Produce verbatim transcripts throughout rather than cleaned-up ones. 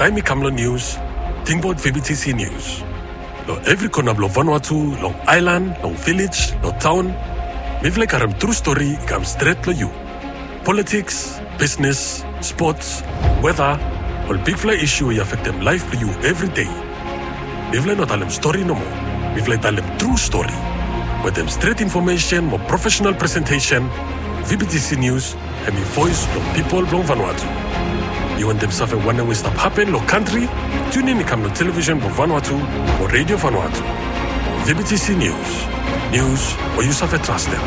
Taem i kam long nius, tingbaot V B T C Nius. Long evri kona blong Vanuatu, long aelan, long vilej, long taon, mifala i karem tru stori i kam stret long yu. Politiks, bisnes, spots, weta, ol bigfala isu we i afektem laef blong yu evri dei. Mifala i no talem stori nomo. Mifala i talem tru stori. Wetem stret infomesen mo profesenal presentesen, V B T C Nius hemi voes blong pipol blong Vanuatu. Yu wantem save wanem we i stap hapen long kantri? Tunin i kam long televisen blong Vanuatu mo Redio Vanuatu. V B T C Nius. Nius we yu save trastem.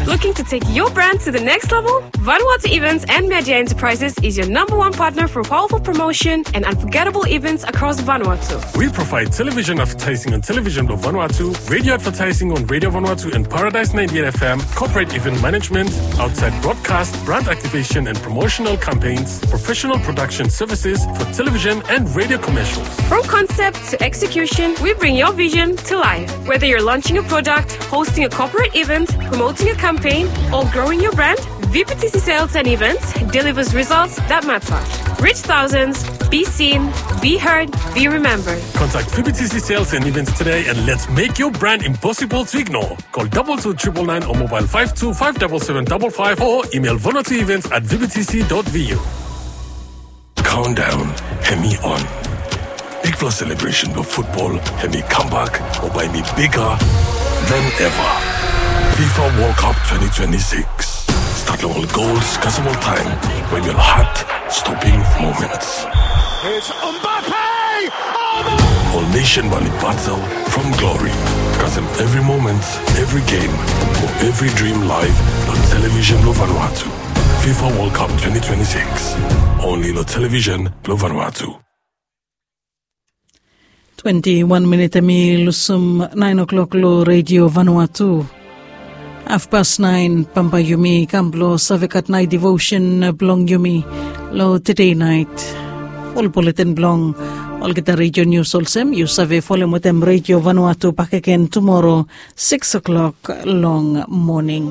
Looking to take your brand to the next level? Vanuatu Events and Media Enterprises is your number one partner for powerful promotion and unforgettable events across Vanuatu. We provide television advertising on Television Blue Vanuatu, radio advertising on Radio Vanuatu and Paradise ninety-eight F M, corporate event management, outside broadcast, brand activation and promotional campaigns, professional production services for television and radio commercials. From concept to execution, we bring your vision to life. Whether you're launching a product, hosting a corporate event, promoting a campaign, or growing your brand, V P T C Sales and Events delivers results that matter. Reach thousands, be seen, be heard, be remembered. Contact V P T C Sales and Events today and let's make your brand impossible to ignore. Call double two triple nine or mobile five two five double seven double five or email vanuatuevents at V P T C dot V U. Countdown hemi on. Bigfala selebresen blong futbol hemi kambak mo bae hemi bigger than ever. FIFA World Cup twenty twenty-six. Stat long ol gols kasem ol taem, wetem ol heart-stopping moments. It's Mbappe! Oh, no! Ol nesen bae oli batel from glory. Kasem evri moment, evri game, mo evri dream live long Television Blue Vanuatu. FIFA World Cup twenty twenty-six. Only long Television Blue Vanuatu. Twenti wan minit hemi lusum naen o'clock long Redio Vanuatu. Hafpas naen, bambae yumi kam blong save gat naet devotion blong yumi long tede naet. Ful buletin blong olgeta redio nius olsem yu save folem wetem Redio Vanuatu bakegen tumoro sikis o'clock long moning.